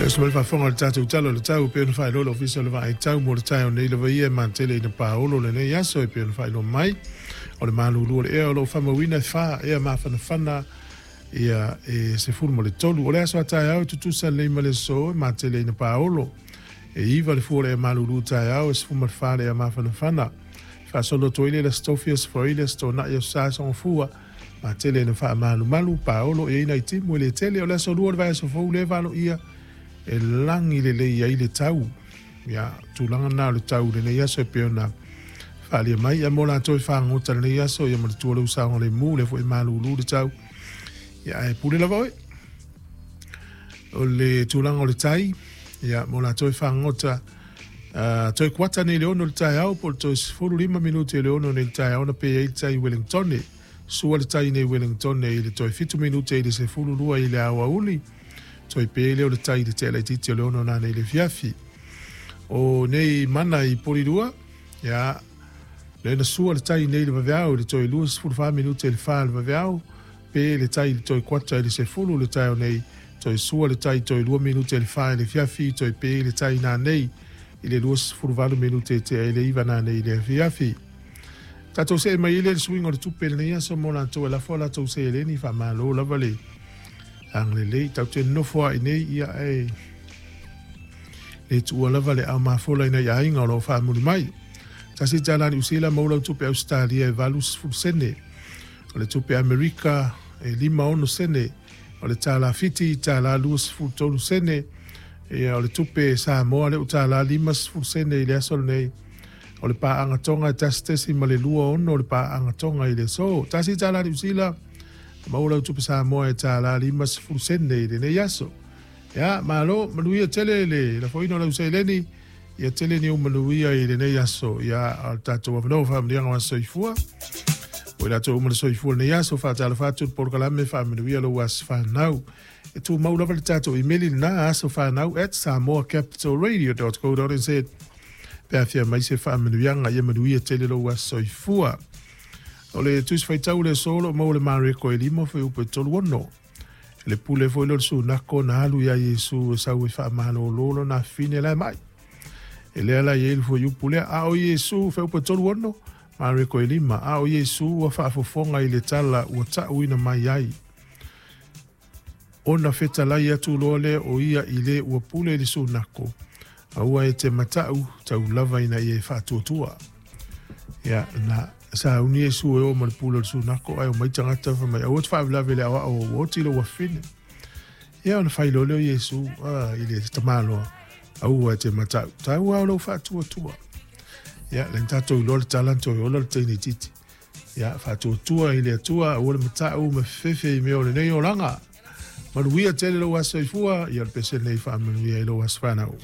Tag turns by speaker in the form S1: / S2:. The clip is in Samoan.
S1: Oso mai le faafofoga i le tatou Tala o le Tau e pei ona faailoa le Ofisa o le Vaai Tau mo le taeao nei lava ia e matele ina paolo lenei aso e pei ona faailoa mai o le malulu o le ea o lo o faamauina e fa ea mafanafana ia e 13. O le aso a taeao e tutusa lelei ma le aso e matele ina paolo e 9 le fua o le ea malulu taeao e 14 le ea mafanafana. Faasolo atu ai le Aso Tofi, Aso Faraile, Aso Toonai, Aso Sa, Aso Gafua, matele ina faamalumalu paolo e i ai nai timu e le tele. O le aso lua o le vaiaso fou lea e valoia e lagi lelei ai le tau. Ia, tulaga na o le tau i lenei aso e pei ona faaalia mai. Ia mo latou e fagota i lenei aso, ia manatua lou saogalemu, lea foi e malulu le tau. Ia ae pule lava oe. O le tulaga o le tai, ia mo latou e fagota, toe kuata nei le 6 i le taeao po o le toe 15 minute i le 6 nei i le taeao na pe ai le tai i Wellingtone. Sua le tai nei i Wellingtone i le toe 7 minute i le 12 i le aoauli. Toe pe lea o le tai i le tea laitiiti o le 6 nanei i le afiafi. O nei mana i Porirua, ia, lea na sua le tai nei i le vaveao i le toe 24 minute i le 4 i le vaveao, pe le tai i le toe kuata i le 10 le taeao nei, toe sua le tai toe 2 minute i le 4 i le afiafi, toe pe le tai nanei i le 28 minute i tea i le 9 nanei i le afiafi. Tatou see mai ai lea i le suiga o le tupe i lenei aso mo latou e lafo a latou seleni, faamalo lava le agalelei. Tatou te nonofo lava i inei, ia ae le tuua lava le aao mafola i nai aiga o lo o faamuli mai. Tasi tala Niu Sila maua lau tupe Ausetalia e 80 sene. O le tupe Amerika e 56 sene. O le tala Fiti tala 23 sene. Ia o le tupe Samoa lea ua tala 50 sene i le aso lenei. O le paaga Tonga e 1.26 o le paaga Tonga i le aso. Tasi tala Niu Sila maua lau tupe Samoa e tala 50 sene i lenei aso. Ia, malo, manuia tele le lafoina o lau seleni, ia tele ni ou manuia i lenei aso. Ia, o le tatou avanoa faamanuiaga o aso soifua. Ua i latou uma le soifua i lenei aso, faatalofa atu le polokalame faamanuia lou aso fanau. E tumau lava le tatou imeli lena asofanau@samoacapitalradio.co.nz pe a fia mai se faamanuiaga, ia manuia tele lou aso soifua. O le Tusi Faitau o le aso o lo o maua i le Mareko e 5 fuaiupu e 36. Le pule foi lea o le sunako na alu iā Iesu e sau e faamalolo lona afafine la e ma'i. E lea la e i ai le fuaiupu lea, a o Iesu, fuaiupu e 36, Mareko e 5, a o Iesu ua faafofoga i le tala ua ta'uina mai ai. Ona fetalai atu loa lea o ia i le ua pule i le sunako, aua e te mata'u, tau lava ina ia e faatuatua. Ia, na sauni Iesu e o ma le pule o le sunako, ae omai tagata fai mai, aua te faalavelave i le aoao ua oti lou afafine. Ia, ona fai loa lea o Iesu i le tamaloa, aua e te mata'u, tau lava o lou faatuatua. Ia, lea na tatou iloa le tala na toe ola le teine itiiti. Ia, faatuatua i le Atua, aua le mata'u ma fefefe i mea o lenei olaga. Manuia tele lou aso soifua, ia o le pese lenei faamanuia i lou aso fanau.